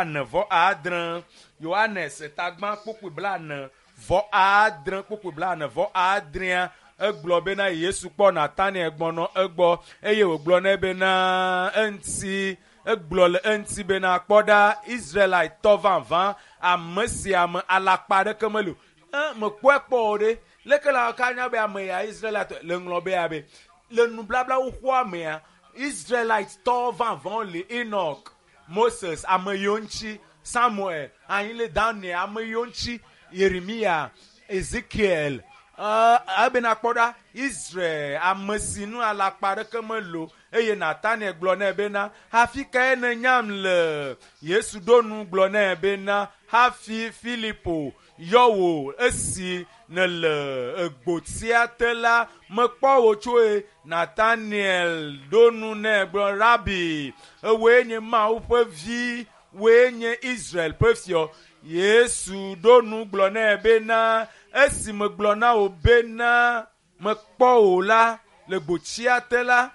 46. Yohanes tagbã kpukpui 46, kpukpui 46a egblɔ bena Yesu kpɔ Nataniel gbɔnɔ egbɔ eye wògblɔ nɛ bena eŋuti egblɔ le eŋuti bena kpɔ ɖa Israelitɔ vavã ame sia ame alakpa aɖeke meli o. E mekpɔe kpɔ o ɖe leke la ka nya be ame ya Israelitɔ le ŋlɔ be abe le nublabla xoxoa mea Israelitɔ vavãwo li Enoch, Moses ame yiwo ŋuti Samuel, anyile Daniel ame yiwo ŋuti Yeremia, Ezekiel ebena kpɔ ɖa Israel ame si nu alakpa aɖeke meli o eye Nataniel gblɔ nɛ bena hafi kae nènyam le? Yesu ɖo nu gblɔ nɛ bena hafi Filipo yɔ wò esi nèle egbotia te la mekpɔ wò tsoe. Nataniel ɖo nu nɛ gblɔ Rabi, ewòe nye Mawu ƒe vi, wòe nye Israel ƒe fiɔ. Yesu ɖo nu gblɔ nɛ bena esi megblɔ na wò bena mekpɔ wò la le gbotia te la,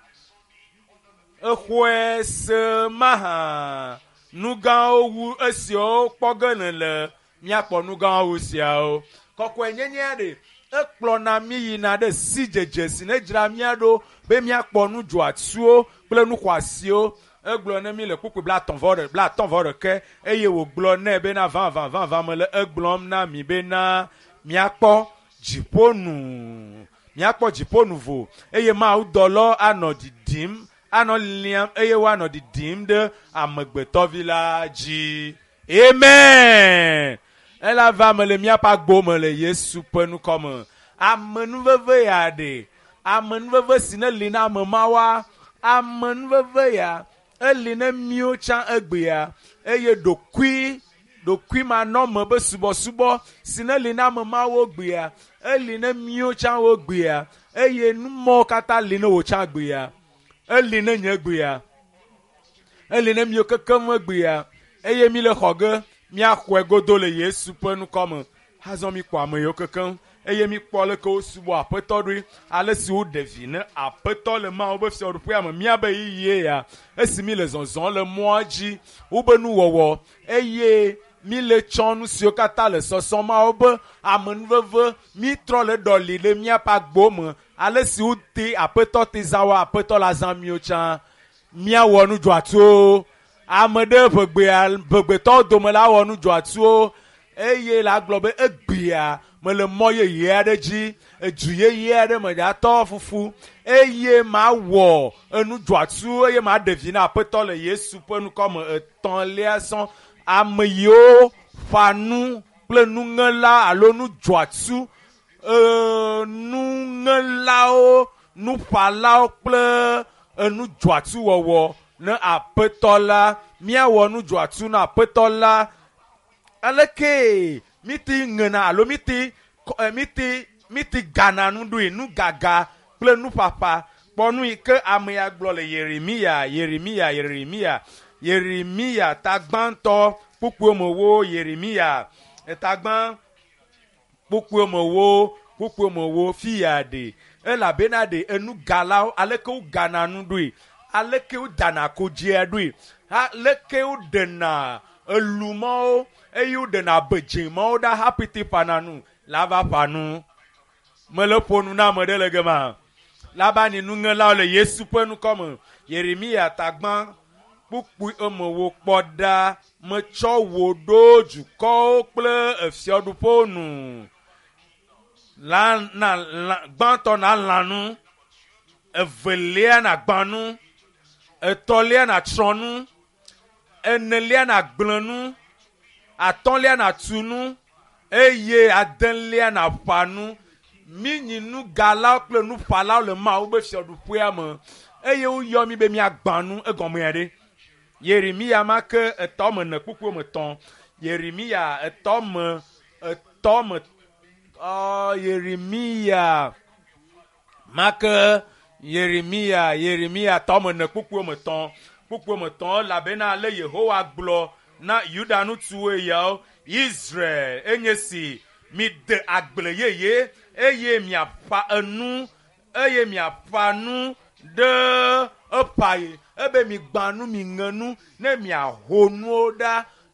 exɔe se mahã. Nu gãwo wu esiawo kpɔ ge nèle. Míakpɔ nu gãwo wu siawo. Kɔkɔenyenyea ɖe ekplɔna mí yina ɖe sidzedze si ne dzra mía ɖo be míakpɔ nu dzɔatsuwo kple nu xɔasiwo. Egblɔ ne mí le kpukpui 35 eye wògblɔ nɛ bena vavã vavã mele egblɔm na mi bena míakpɔ dziƒonu míakpɔ dziƒonu vo eye Mawu dɔlɔ anɔ ɖiɖim anɔ liam eye woanɔ ɖiɖim ɖe amegbetɔvi la dzi. Amen. Ela va me le míaƒe agbo me le Yesu ƒe ŋkɔ me. Amenuveve ya ɖe amenuveve si ne li na ame mawoa amenuveve ya eli ne míwo tsã egbea eye ɖokui ɖokuimanɔme be subɔsubɔ si ne li na ame mawo gbea eli ne míwo tsã wo gbea eye numɔwo katã li ne wò tsã gbea eli ne nye gbea eli ne míwo kekem gbea eye mi le xɔ ge míaxɔe godo le Yesu ƒe ŋkɔ me. Azɔ mi kpɔ ame yiwo kekem eye mi kpɔ leke wosubɔ aƒetɔ ɖoe ale si woɖe vi ne aƒetɔ le Mawu ƒe fiaɖuƒea me míabe yiyie ya esi mi le zɔzɔm le mɔa dzi wobe nuwɔwɔ eye mi le tsɔ nu siwo katã le sɔsɔm Mawu be amenuveve mi trɔ le ɖɔli ɖe míaƒe agbo me ale si wote aƒetɔ te zã wo aƒetɔ la zã míwo tsã míawɔ nu dzɔatsuwo ame ɖe ʋegbea ʋegbetɔwo dome la wɔ nu dzɔatsuwo eye la gblɔ be egbea mele mɔ yeye aɖe dzi edu yeye aɖe me dzatɔ fufu eye mawɔ enu dzɔatsu eye maɖe vi na aƒetɔ le Yesu ƒe ŋkɔ me. Etɔ̃lia sɔn ame yiwo ƒa nu kple nuŋela alo nu dzɔatsu nuŋelawo nuƒalawo kple enu dzɔatsu wɔwɔ ne aƒetɔ la míawɔ nu dzɔatsu na aƒetɔ la aleke miti ŋena alo miti miti miti gana nu ɖoe nu gaga kple nuƒaƒa kpɔ nu yi ke ame ya gblɔ le Yeremia Yeremia Yeremia Yeremia tagbãtɔ kpukpui me wo Yeremia tagbã kpukpui me wo kpukpui me wo fi ya ɖe elabena ɖe enugalawo aleke wogana nu ɖoe aleke wodana kodzia ɖoe aleke woɖena elumɔwo eye woɖena abedzemɔwo ɖa hafi te ƒana nu la va ƒa nu. Mele ƒo nu na ame ɖe le gema. Labani nuŋelawo le Yesu ƒe ŋkɔ me. Yeremia tagbã kpukpui eme wo kpɔ ɖa metsɔ wò ɖo dukɔwo kple efiaɖuƒewo nu. La na lã gbãtɔ na lã nu, evelia na gbã nu, etɔ̃lia na tsrɔ̃ nu, enelia na gblẽ nu, atɔ̃lia na tu nu eye adelia na ƒa nu. Míenyi nugalawo kple nuƒalawo le Mawu ƒe fiaɖuƒea me eye woyɔ mí be míagbã nu egɔmea ɖe. Yeremia ma ke etɔ me ne kpukpui me tɔ̃. Yeremia etɔ me etɔ me Yeremia ma ke Yeremia Yeremia tɔ me ne kpukpui me tɔ̃. Kpukpui me tɔ̃ elabena ale Yehowa gblɔ na Yuda ŋutsuwo yawo Israel enye si mide agble yeye eye miaƒa enu eye miaƒa nu ɖe eƒa ye ebe migbã nu miŋe nu ne miaho nuwo ɖa.